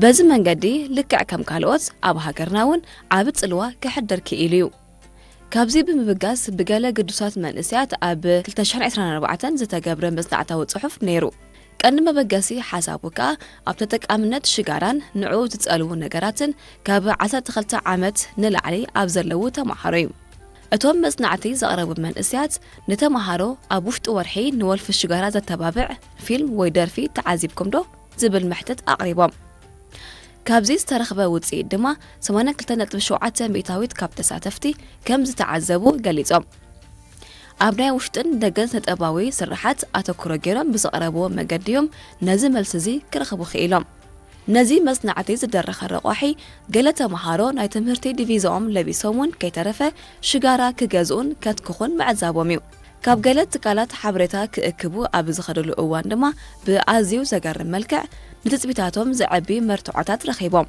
በዚ መንገዲ ልክዕ ከም ካልኦት ኣብ ሃገርና እውን ዓቢ ጽልዋ ከሕድር ክኢሉ እዩ። ካብዚ ብምብጋስ ብገለ ግዱሳት መንእሰያት ኣብ ክልተ ሽሕን ዕስራን ኣርባዕተን ዝተገብረ መጽናዕታዊ ጽሑፍ ነይሩ። ቀንዲ መበገሲ ሓሳቡ ከኣ ኣብ ተጠቃምነት ሽጋራን ንዕኡ ዝጸልዉ ነገራትን ካብ ዓሰርተ ክልተ ዓመት ንላዕሊ ኣብ ዘለዉ ተማሃሮ እዩ። እቶም መጽናዕቲ ዘቕረቡ መንእሰያት ንተማሃሮ ኣብ ውሽጢ ወርሒ ንወልፊ ሽጋራ ዘተባብዕ ፊልም ወይ ደርፊ ተዓዚብኩም ዶ? ዝብል መሕትት ኣቕሪቦም። ካብዚ ዝተረኽበ ውጽኢት ድማ ሰማንያ ክልተ ነጥቢ ሸውዓተ ሚእታዊት ካብ ተሳተፍቲ ከም ዝተዓዘቡ ገሊጾም። ኣብ ናይ ውሽጥን ደገን ስነጥበባዊ ስርሓት ኣተኩሮ ገይሮም ብዘቕረብዎ መገዲ እዮም ነዚ መልሲ እዚ ክረኽቡ ክኢሎም። ነዚ መጽናዕቲ ዝደረኸ ረቋሒ ገለ ተምሃሮ ናይ ትምህርቲ ዲቪዛኦም ለቢሶም እውን ከይተረፈ ሽጋራ ክገዝኡን ከትክኹን ምዕዛቦም እዩ። ካብ ገለ ትካላት ሓበሬታ ክእክቡ ኣብ ዝኸደሉ እዋን ድማ ብኣዝዩ ዘገርም መልክዕ ንትጽቢታቶም ዘዕቢ መርትዖታት ረኺቦም።